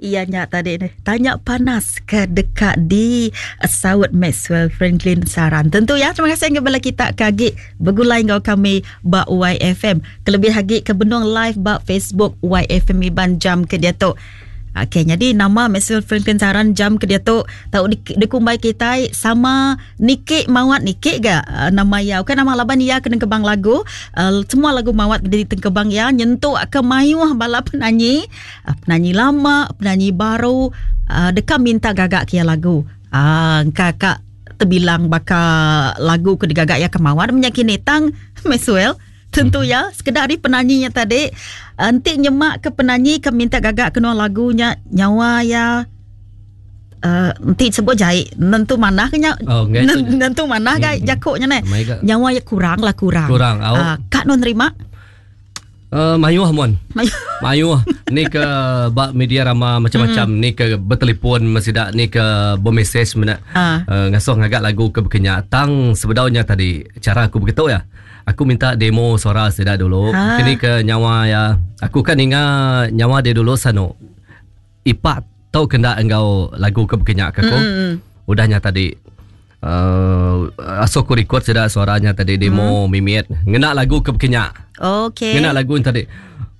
Iya nya tadi nih. Tanya panas ke deka di saut Maxwell Franklin Saran. Tentu ya, terima kasih enggau bala kita ke agi begulai enggau kami ba YFM. Kelebih agi ke benung live ba Facebook YFM Iban jam ke diatu. Okey, jadi nama Maxwell Franklin Saran jam ke diatu tau di, dikumbai kitai sama niki mawat niki ga uh, nama iya. Bukan nama laban iya kena kebang lagu. Uh, semua lagu mawat di tengkebang iya nyentuk ke mayuh bala penanyi uh, penanyi lama, penanyi baru uh, deka minta gaga ke iya lagu. Uh, engka ka terbilang baka lagu ke digaga iya ke mawat menyakini tang Maxwell Tentu ya, sekeda ari penanyi nya tadi enti nyema ke penanyi ke minta gaga ke nuan lagu nya nyawa iya uh, enti sebut jai nentu manah ke nya oh, nentu manah ga hmm. jaku nya neh. Nyawa iya kurang lah kurang. Kurang au. Uh, kak nuan nerima? Mayuh mun. Mayuh ni ke ba media rama macam-macam mm. ni ke betelefon sida ni ke bermesej mena uh. Uh, ngasuh ngaga lagu ke bekenya tang sebedau nya tadi cara aku begitu ya. Aku minta demo suara sida dulu. Ha. Kini ke nyawa ya. Aku kan ninga nyawa dia dulu sanu. Ipak tau kena enggau lagu ke bekenya ke aku. Mm. Udah nya tadi uh, asuh aku record sida suaranya tadi demo mm. mimit ngena lagu ke bekenya. Okey. Ngena lagu yang tadi.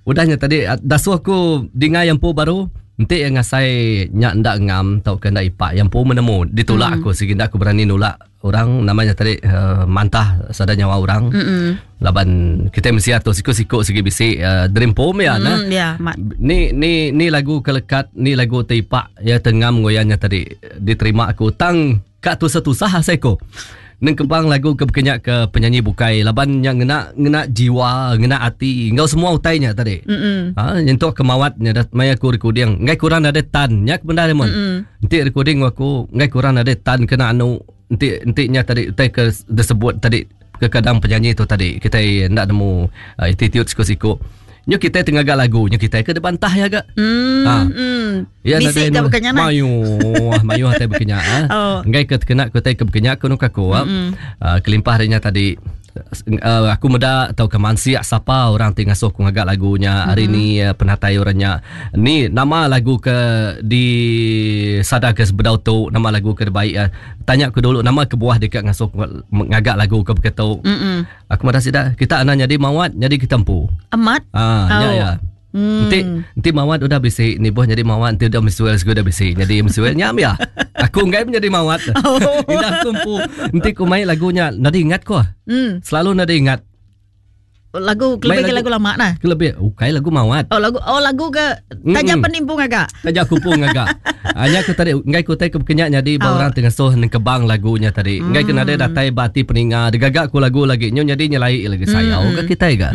Udah nya tadi dasuh aku dinga yang empu baru enti yang ngasai nya enda ngam tauka enda ipak yang empu menemu ditulak mm. aku sigi enda aku berani nulak orang namanya tadi uh, mantah sada nyawa orang mm laban kita mesti atur siku-siku sigi bisi uh, dream pom ya mm, nah yeah, ni ni ni lagu kelekat ni lagu teipak ya tengam ngoyanya tadi diterima aku tang ka tusah-tusah asai ko nengkebang lagu ke bekenya ke penyanyi bukai laban nya ngena ngena jiwa ngena ati enggau semua utai nya tadi mm ha nyentuk ke mawat nya maya aku recording enggai kurang ada tan nya ke bendar mun Enti recording aku enggai kurang nadai tan kena anu enti enti nya tadi utai ke disebut tadi kekadang penyanyi tu tadi kitai enda nemu uh, attitude siku-siku. Nyu kitai tengaga lagu nyu kitai ke dibantah ya ga. Hmm. Ha. Hmm. Ya Bisi ke bukan nya Mayuh, mayuh tai bekenya. Ha. Oh. Enggai ke tekena ku tai ke bekenya ku nuka aku. Mm. Uh, kelimpah ari nya tadi uh, aku meda tauka mansik sapa orang ti ngasuh aku ngaga lagu nya hari mm-hmm. ni uh, penatai orang nya ni nama lagu ke di sada ke sebedau tu nama lagu ke baik uh, tanya aku dulu nama kebuah deka ngasuh aku ngaga lagu ke begitu mm-hmm. aku madah sida kita ana nyadi mawat nyadi kita empu amat ah oh. nya ya Hmm. Enti enti mawat udah bisi nibuh nyadi mawat enti udah misuel sigi udah bisi nyadi misuel nya mia. Aku enggai menyadi mawat. Oh. Indah aku empu enti ku mai lagu nya nadi ingat ko. Hmm. Selalu nadi ingat. Lagu Mai kelebih ke lagu lama nah. Kelebih ukai lagu mawat. Oh lagu oh lagu ke taja Mm-mm. penimpu ngaga. Taja aku pun ngaga. Anya aku tadi enggai ku tai ke bekenya nyadi ba Oh. orang ti ngasuh nengkebang lagu nya tadi. Enggai ke nadai datai ba ati peninga digaga ku lagu lagi nyu nyadi nyelai lagi sayau ga kitai ga.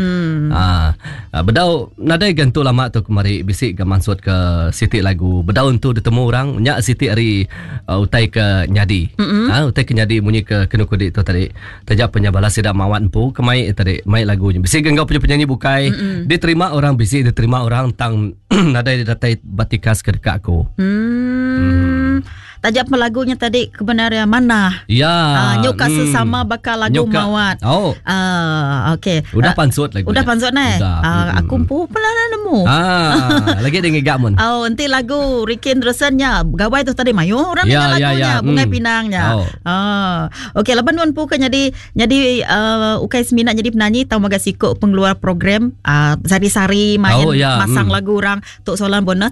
Ah bedau nadai ga entu lama tu kemari bisi ga mansut ke siti lagu bedau entu ditemu orang nya siti ari utai ke nyadi. Ah utai ke nyadi munyi ke kenu kudi tu tadi. Taja pun nya bala sida mawat empu ke mai tadi mai lagu nya. Bisi ga enggau penyanyi bukai diterima orang bisi diterima orang tang nadai datai ba tikas ke deka aku. Hmm. Taja pun lagu nya tadi kebenar iya manah. Ya. Ah, nyuka hmm. sesama baka lagu Nyuka. mawat. Oh. Ah, okey. Udah Ah, pansut lagu Udah nya. pansut neh. Udah. Ah, Mm-mm. aku empu pernah nemu. Ah, lagi dia ngiga mun. Oh, enti lagu Ricky Anderson nya gawai tu tadi mayuh orang Ya, dengar ya, lagu nya ya. Bungai Mm. Pinang nya. Oh. Ah. Okey, laban nuan empu ke nyadi nyadi uh, ukai semina nyadi penanyi tau mega siku pengeluar program uh, sari-sari main Oh, ya. masang Mm. lagu orang tu soalan bonus.